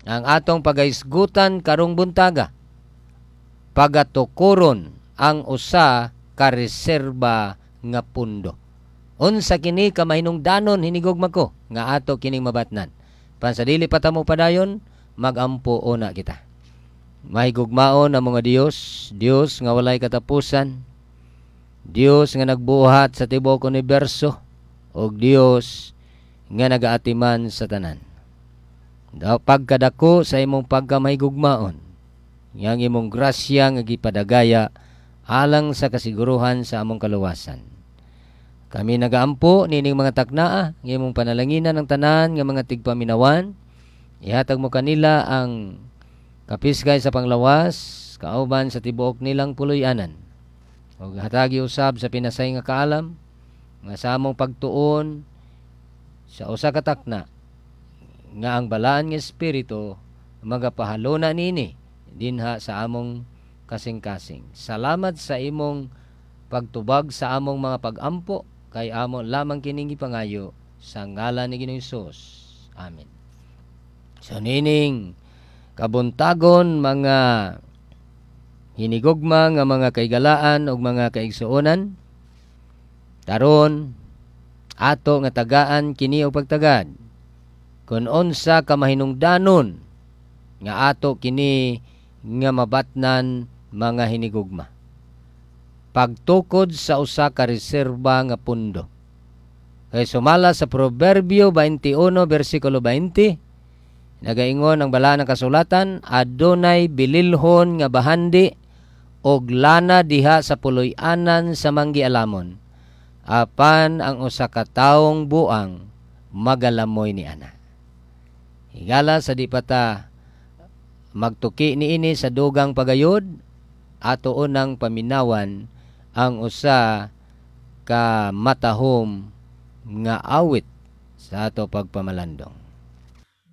Ang atong pagahisgutan karong buntaga, pagatukoron ang usa ka reserba nga pundo. Unsa kini ka mahinungdanon, hinigugma ko, nga ato kining mabatnan? Pan sa dili pa ta mopadayon, magampo una kita. Mahigugmaon ang mga Dios, Dios nga walay katapusan, Dios nga nagbuhat sa tibuok universo, ug Dios nga nagaatiman sa tanan. Daw pagkadako sa imong pagkamahigugmaon, yang imong grasya nga gipadagaya alang sa kasiguruhan sa among kaluwasan. Kami nagaampo nining mga taknaa nga imong panalanginan ang tanan nga mga tigpaminawan. Ihatag mo kanila ang kapiskay sa panglawas kauban sa tibuok nilang puloy-anan. Ug hatagi usab sa pinasay nga kaalam nga sa among pagtuon sa usa ka takna nga ang Balaan nga Espiritu magapahaluna niini dinha sa among kasing-kasing. Salamat sa imong pagtubag sa among mga pagampo, kay amo lamang kining gipangayo sa ngalan ni Ginoong Hesus. Amen. So nining kabuntagon, mga hinigugma nga mga kaigalaan ug mga kaigsuonan, karon ato nga tagaan kini og pagtagad kung unsa ka mahinungdanon nga ato kini nga mabatnan, mga hinigugma. Pagtukod sa usa ka reserba nga pundo. Kay sumala sa Proverbio 21 bersikulo 20, nagaingon ang Balaan ng Kasulatan, "Adunay bililhon nga bahandi og lana diha sa puloy-anan sa manggialamon, apan ang usa ka taong buang magalamoy ni ana." Higala, sa di pa ta magtuki niini sa dugang pagayod, ato unang paminawan ang usa ka matahom nga awit sa ato pagpamalandong.